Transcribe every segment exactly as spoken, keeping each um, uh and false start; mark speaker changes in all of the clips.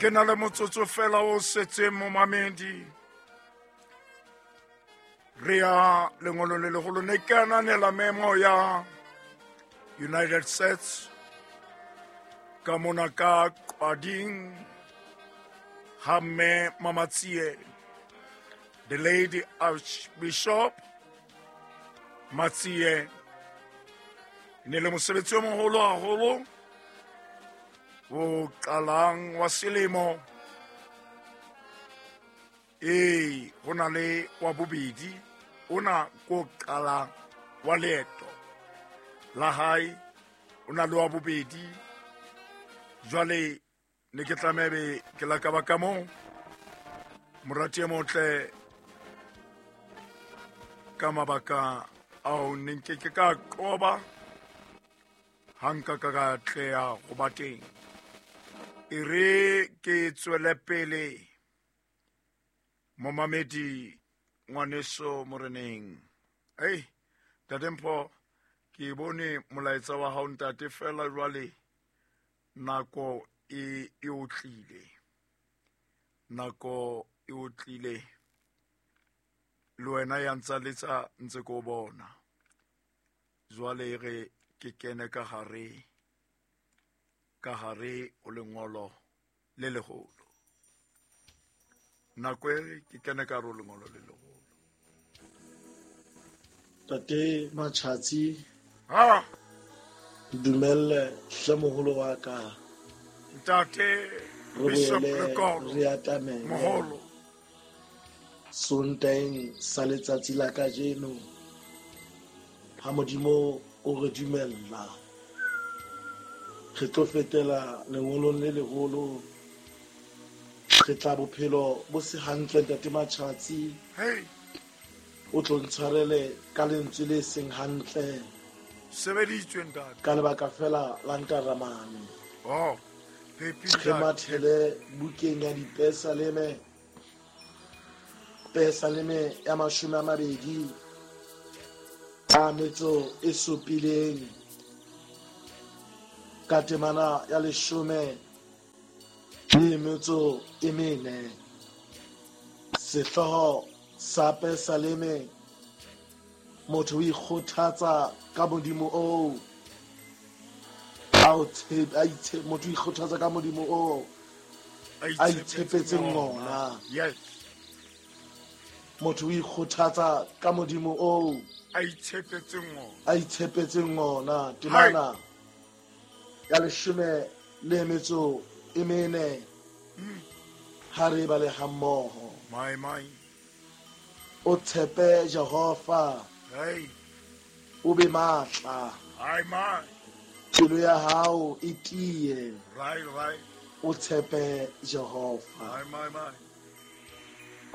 Speaker 1: Ke na le motsotso fela o setseng momamedi. Re ya lengolo le leholo, ne ke ananela memo ya United States ka mona ka Qwading ha mme Mamatsie, the Lady Archbishop Matsie. Ne le mosebetsi o moholo haholo o qalang wa selemo. Ee, ho na le wa bobedi ona ko qalang wa leeto la hae, o na le wa bobedi. Jwale ne ke tlameha be ke la ka ba ka moo, morati e motle, ka mabaka ao ne nke ke ka qoba ha nka ka ka tleha ho ba teng. E re ke tswele pele momamedi ngwaneso moreneng. Ei, Ntate Mpho, ke bone molaetsa wa hao ntate, fela jwale nako e e otlile, nako e otlile. Le wena ya ntsa letsa ntse ko bona. Jwale re ke kene ka hare, ka hare o lengolo le leholo. Nako e ke kene ka hare o lengolo le leholo.
Speaker 2: Tate Matjhatsi,
Speaker 1: ha
Speaker 2: dumelle hle moholo wa ka.
Speaker 1: Ntate
Speaker 2: Re
Speaker 1: Bishop
Speaker 2: boele
Speaker 1: Lekolo,
Speaker 2: re atamele
Speaker 1: moholo.
Speaker 2: Sontaeng sa letsatsi la kajeno, ha Modimo o re dumella, re tlo fetela lengolong le leholo. Re tla bophelo bo se hantle, Ntate Matjhatsi.
Speaker 1: Hey.
Speaker 2: O tlo ntshwarele ka lentswe le seng hantle.
Speaker 1: Sebeditswe, ntate.
Speaker 2: Ka lebaka fela la ntaramane.
Speaker 1: Oh, Pepi,
Speaker 2: Re
Speaker 1: ntate.
Speaker 2: mathele bukeng ya Dipesaleme, Pesaleme ya mashome a mabedi a metso e supileng, ka temana ya leshome le metso e mene. Sehlooho sa Pesaleme, motho o ikgothatsa ka Modimo oo a o tshepe, a itshe-, motho o ikgothatsa ka Modimo oo a itshepetseng ona.
Speaker 1: Yes.
Speaker 2: Motho o ikgothatsa ka Modimo oo
Speaker 1: a itshepetseng ona.
Speaker 2: a itshepetseng ona. Temana ya leshome le metso e mene, ha re bale hammoho.
Speaker 1: My, my.
Speaker 2: O tshepe Jehova,
Speaker 1: Hey.
Speaker 2: o be matla.
Speaker 1: Ai, my.
Speaker 2: Pelo ya hao e tiye.
Speaker 1: Right, right.
Speaker 2: O tshepe Jehova.
Speaker 1: Ai, my, my.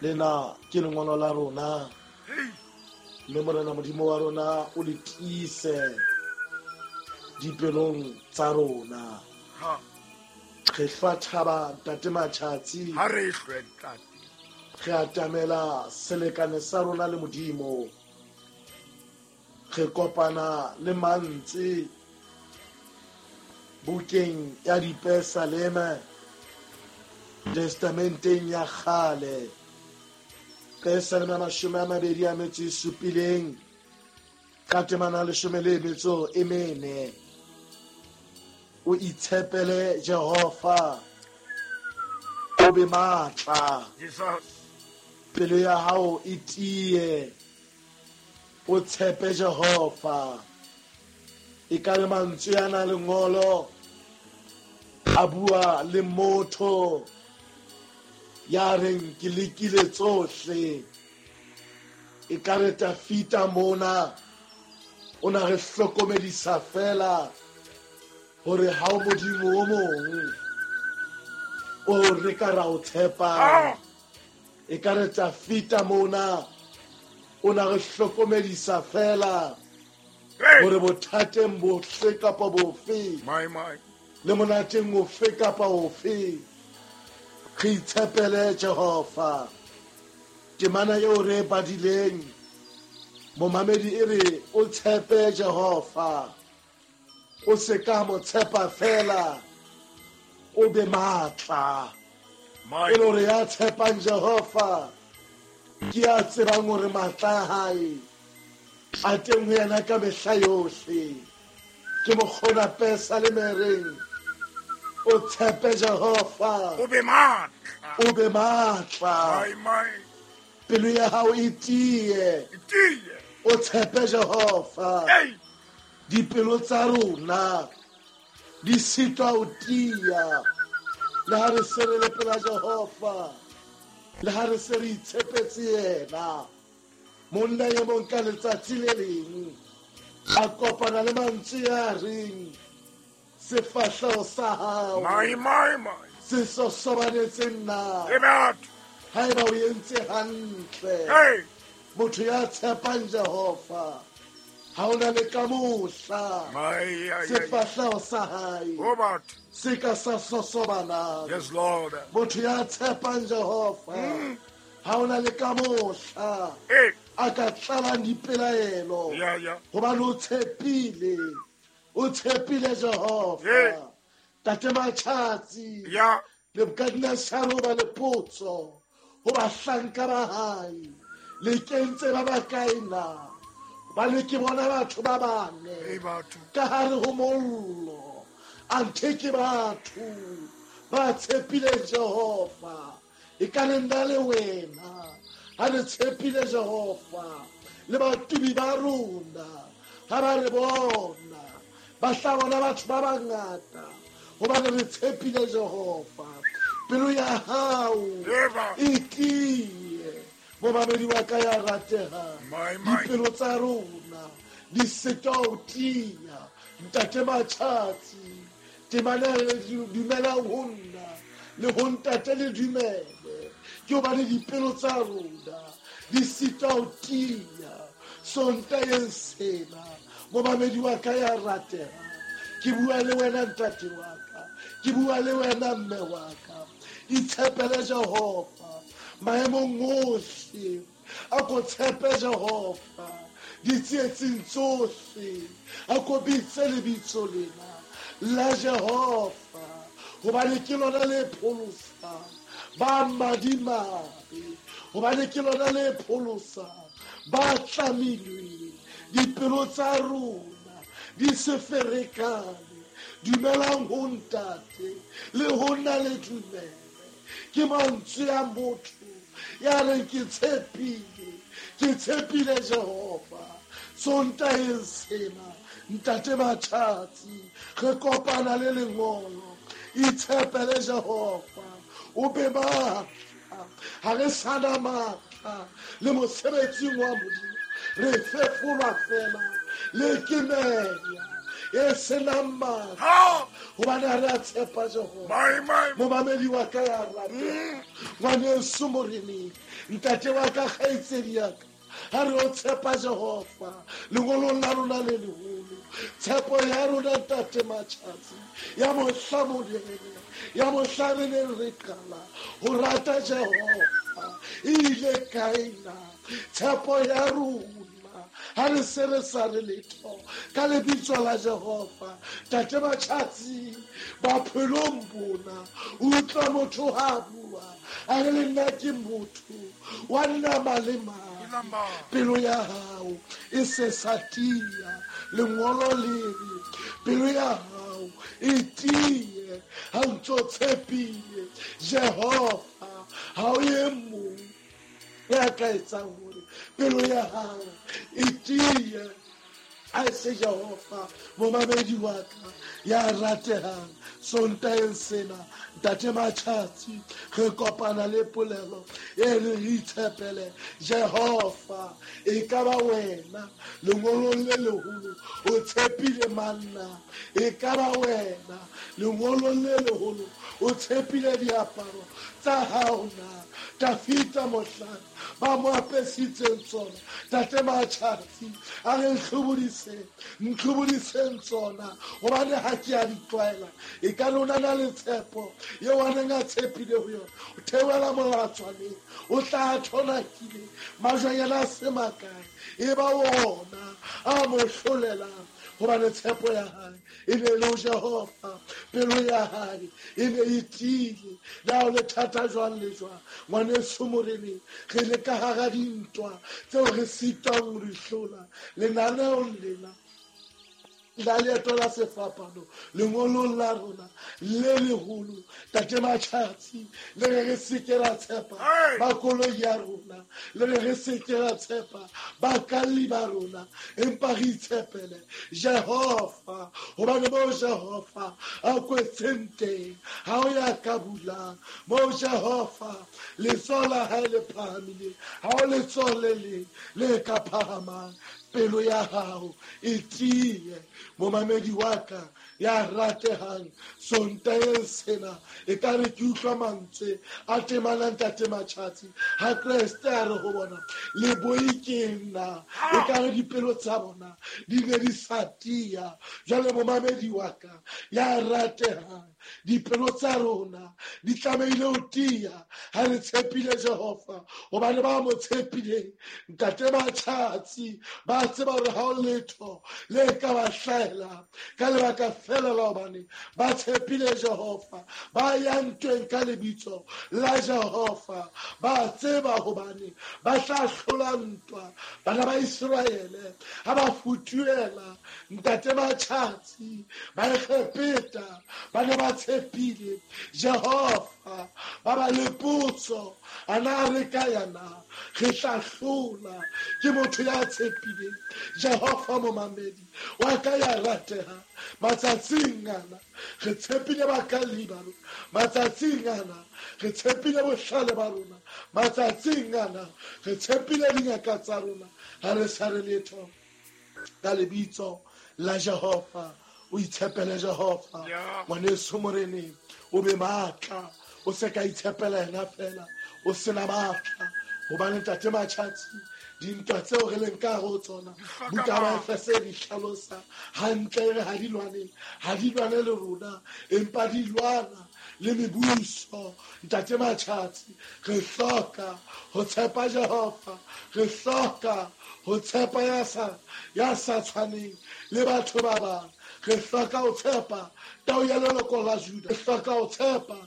Speaker 2: Lena ke lengolo la rona.
Speaker 1: Hey.
Speaker 2: Mme Morena Modimo wa rona o le tiise dipelong tsa rona.
Speaker 1: Ha.
Speaker 2: Re hlwa thaba, Ntate Matjhatsi.
Speaker 1: Ha re hlwe, ntate.
Speaker 2: Re atamela selekane sa rona le Modimo. Re kopana le mantswe bukeng ya Dipesaleme, Testamenteng ya kgale. Pesaleme ya mashome a mabedi a metso e supileng, ka temana ya leshome le metso e mene. O itshepele Jehova, o be matla.
Speaker 1: Jesus.
Speaker 2: Pelo ya hao e tiye, o tshepe Jehova. E ka le mantswe ana lengolo a bua le motho ya reng ke lekile tsohle. E ka re Tafita mona o na re hlokomedisa fela hore ha o Modimo o mong o re ka ra o tshepang.
Speaker 1: Ah!
Speaker 2: E ka re Tafita mona o na re hlokomedisa fela
Speaker 1: Hey!
Speaker 2: hore bothateng bohle kapa bofe,
Speaker 1: My, my.
Speaker 2: le monateng ofe kapa ofe, re itshepele Jehova. Temana eo re e badileng, momamedi e re o tshepe Jehova, o se ka mo tshepa fela, o be matla. E le hore ya tshepang Jehova ke ya tsebang hore matla a hae a teng ho yena ka mehla yohle. Ke mokgona pesa le mereng o tshepe Jehova
Speaker 1: o be matla,
Speaker 2: o be matla.
Speaker 1: My my
Speaker 2: pelo ya hao e tiye,
Speaker 1: e tiye,
Speaker 2: o tshepe Jehova.
Speaker 1: Hey,
Speaker 2: dipelo tsa rona di sitwa ho tiya le ha re se re le pela Jehova, le ha re se re itshepetse yena. Monna e mong ka letsatsi le leng a kopana le mantswe a reng sefahleho sa hao
Speaker 1: my my my
Speaker 2: se sosobanetse nna.
Speaker 1: E batho
Speaker 2: haeba o entse hantle.
Speaker 1: Hey,
Speaker 2: motho ya tshepang Jehova ha ona le ka mohla sefahleho sa hae
Speaker 1: o batho
Speaker 2: se ka sa sosobana.
Speaker 1: Yes Lord.
Speaker 2: Motho ya tshepang Jehova ha ona le ka mohla a ka tlalang dipelaelo.
Speaker 1: Yeah, yeah.
Speaker 2: Hobane o tshepile, o tshepile Jehova. Tate Matjhatsi
Speaker 1: yeah.
Speaker 2: Nebukadnezar o ba le potso ho bahlanka ba hae, le kentse ba bakae na? Hobane ke bona batho ba bane ka hare ho mollo, anthe ke batho ba tshepile Jehova. E ka le nna le wena ha re tshepile Jehova, le batubi ba rona ha ba re bona ba tla bona batho ba bangata hobane re tshepile Jehova. Pelo ya hao e tiye, momamedi wa ka ya ratehang, dipelo tsa rona di sitwa ho tiya. Ntate Matjhatsi, temana le dumelang ho nna le ho ntate le dumele, ke hobane dipelo tsa rona di sitwa ho tiya. Sontaheng sena, momamedi wa ka ya ratehang, ke bua le wena ntate wa ka, ke bua le wena mme wa ka. Itshepele Jehova maemong ohle, a ko tshepe Jehova ditsietsing tsohle, a ko bitse lebitso lena la Jehova, hobane ke lona le pholosang ba madimabe, hobane ke lona le pholosang ba tlamilweng. Dipelo tsa rona di se ferekane, dumelang ho ntate le ho nna le dumele. Ke mantswe a motho ya reng ke tshepile, ke tshepile Jehova. Sontaheng sena, ntate Matjhatsi, re kopana le lengolo, itshepele Jehova, o be matla. Ha re sana matla le mosebetsing wa Modimo, re fefolwa fela le ke meya e senang matla, hobane ha re a tshepa Jehova. Momamedi wa ka ya ratehang, ngwaneso moreneng, ntate wa ka, kgaitsedi ya ka, ha re o tshepa Jehova lengolong la rona le leholo, tshepo ya rona ntate Matjhatsi ya mohla morena, ya mohla re neng re qala ho rata Jehova e ile kae na? Tshepo ya rona ha re se re sa re letho ka lebitso la Jehova. Tate Matjhatsi, bophelong bona utlwa motho ha bua a re le nna ke motho wa nama le madi, pelo ya hao e se sa tiya. Lengolo le re pelo ya hao e tiye ha o ntso tshepile Jehova. Ha o e mong ya ka etsang hore pelo ya hao e tiye a se Jehova. Momamedi wa ka ya ratehang, Sontaheng sena, ntate Matjhatsi, re kopana le polelo e re re itshepele Jehova. E ka ba wena lengolong le leholo o tshepile manna, e ka ba wena lengolong le leholo o tshepile diaparo tsa hao na? Dafita mohlang ba mo apesitseng tsona, tate Matjhatsi a re ntlhobodiseng, ntlhobodiseng tsona, hobane ha ke a di tlwaela. E ka lona na le tshepo eo a neng a tshepile ho yona, o theohela molatswaneng, o tla thonakile majwanyana a se makae, e ba ona a mo hlolelang. Hobane tshepo ya hae e ne le ho Jehova, pelo ya hae e ne e tiile. Le ha o le thata jwang le jwang, ngwaneso moreneng, re le ka hara dintwa tseo re sitwang ho di hlola. Lenaneong lena la leeto la sefapano, lengolong la rona le leholo, Tate Matjhatsi, le re re se ke ra tshepa ba koloi ya rona, le re re se ke ra tshepa bakalli ba rona, empa re itshepele Jehova, hobane moo Jehova a kwetseng teng ha o ya ka bulang. Moo Jehova letsoho la hae le phahamileng, ha o letsoho le leng le ka phahamang. Pelo ya hao e tiye, momamedi wa ka ya ratehang. Sontaheng sena e ka re ke utlwa mantswe a temanang Tate Matjhatsi ha Kreste a re ho bona, le boi ke nna. E ka re dipelo tsa bona di ne di sa tiya. Jwale momamedi wa ka ya ratehang, dipelo tsa rona di tlamehile ho tiya ha re tshepile Jehova, hobane ba mo tshepileng Ntate Matjhatsi ba tseba hore ha ho letho le ka ba hlahela ka lebaka fela la hobane ba tshepile Jehova, ba ya ntweng ka lebitso la Jehova, ba tseba hobane ba tla hlola ntwa. Bana ba Iseraele ha ba futuhela Ntate Matjhatsi ba Egepeta, ba ne ba tshepile Jehova, ba ba le potso, a na re ka yana re tla hlola? Ke motho ya tshepileng Jehova, momamedi wa ka ya rateha. Matsatsing ana re tshepile bakalli ba rona, matsatsing ana re tshepile bohlale ba rona, matsatsing ana re tshepile dingaka tsa rona, ha re sa re letho ka lebitso la Jehova. O itshepele Jehova, ngwaneso moreneng, o be matla, o se ka itshepela yena fela, o sena matla. Hobane Ntate Matjhatsi, dintwa tseo re leng ka ho tsona, buka ba Efese di hlalosa hantle, re ha di lwane, ha di lwane le rona, empa di lwana le mebuso. Ntate Matjhatsi, re hloka ho tshepa Jehova, re hloka ho tshepa ya sa ya sa tshwaneng le batho ba bang, re hloka ho tshepa tau ya leloko la Juda, re hloka ho tshepa